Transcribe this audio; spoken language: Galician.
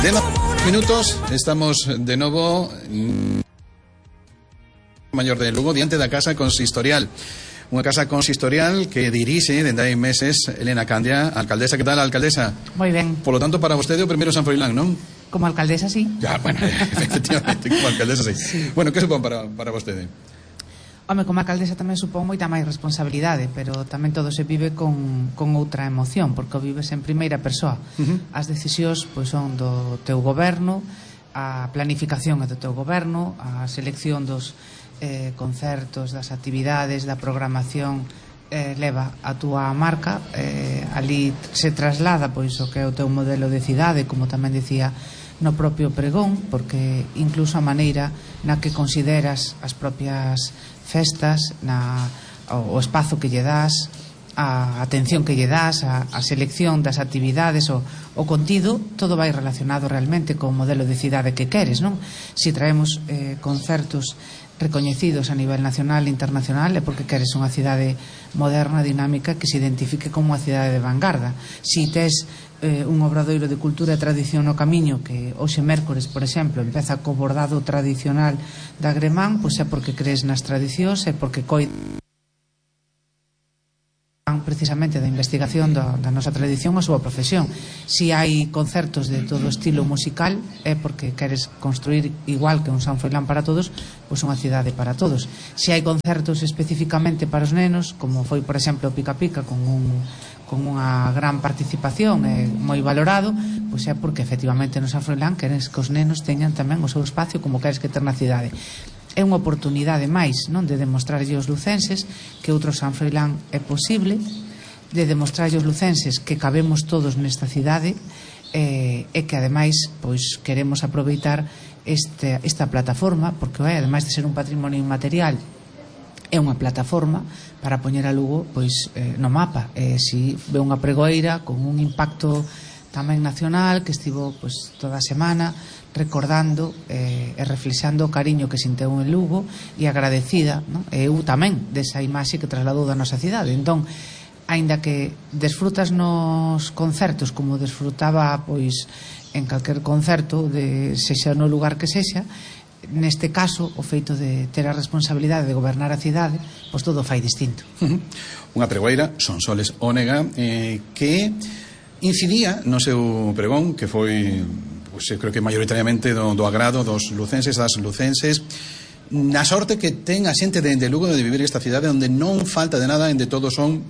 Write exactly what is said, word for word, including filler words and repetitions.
De minutos, estamos de novo Maior de Lugo, diante da Casa Consistorial. Unha casa consistorial que dirixe dende hai meses Elena Candia, alcaldesa. Que tal, alcaldesa? Moi ben. Por lo tanto, para vostede o primeiro San Froilán, non? Como alcaldesa, sí. Ya, bueno, efectivamente, como alcaldesa, sí. sí. Bueno, que supón para, para vostede? Home, como alcaldesa tamén supón moita máis responsabilidade, pero tamén todo se vive con, con outra emoción, porque o vives en primeira persoa. Uh-huh. As decisións pois, son do teu goberno, a planificación é do teu goberno, a selección dos eh, concertos, das actividades, da programación eh, leva a túa marca, eh, ali se traslada pois o que é o teu modelo de cidade, como tamén dicía no propio pregón, porque incluso a maneira na que consideras as propias festas, na, o, o espazo que lle das, a atención que lle das, a, a selección das actividades, o, o contido, todo vai relacionado realmente co modelo de cidade que queres, non? Si traemos eh, concertos recoñecidos a nivel nacional e internacional é porque queres unha cidade moderna, dinámica, que se identifique como unha cidade de vanguarda. Si tes eh, un obradoiro de cultura e tradición no camiño, que hoxe mércores, por exemplo, empeza co bordado tradicional da Gremán, pois é porque crees nas tradicións, é porque coi precisamente da investigación da, da nosa tradición a súa profesión. Si hai concertos de todo estilo musical é porque queres construir, igual que un San Froilán para todos, pois unha cidade para todos. Si hai concertos especificamente para os nenos, como foi por exemplo o Pica Pica, con un con unha gran participación e moi valorado, pois é porque efectivamente no San Froilán queres que os nenos teñan tamén o seu espacio como queres que ter na cidade. É unha oportunidade máis, non, de demostrarlle aos lucenses que outro San Froilán é posible, de demostrarlle aos lucenses que cabemos todos nesta cidade eh, e que ademais pois queremos aproveitar este, esta plataforma, porque é, ademais de ser un patrimonio inmaterial, é unha plataforma para poñer a Lugo pois eh, no mapa. Eh, si ve unha pregoeira con un impacto tamén nacional que estivo pois toda a semana recordando eh, e reflexando o cariño que sinteu en Lugo e agradecida, non? E eu tamén desa imaxe que trasladou da nosa cidade. Entón, aínda que desfrutas nos concertos como desfrutaba pois en calquer concerto, de sexa no lugar que sexa, neste caso o feito de ter a responsabilidade de gobernar a cidade, pois todo fai distinto. Uh-huh. Unha pregoeira, Sonsoles Ónega, eh, que incidía no seu pregón, que foi, pois, eu creo que maioritariamente do, do agrado dos lucenses, das lucenses, na sorte que ten a xente de, de Lugo de vivir esta cidade onde non falta de nada, onde todos son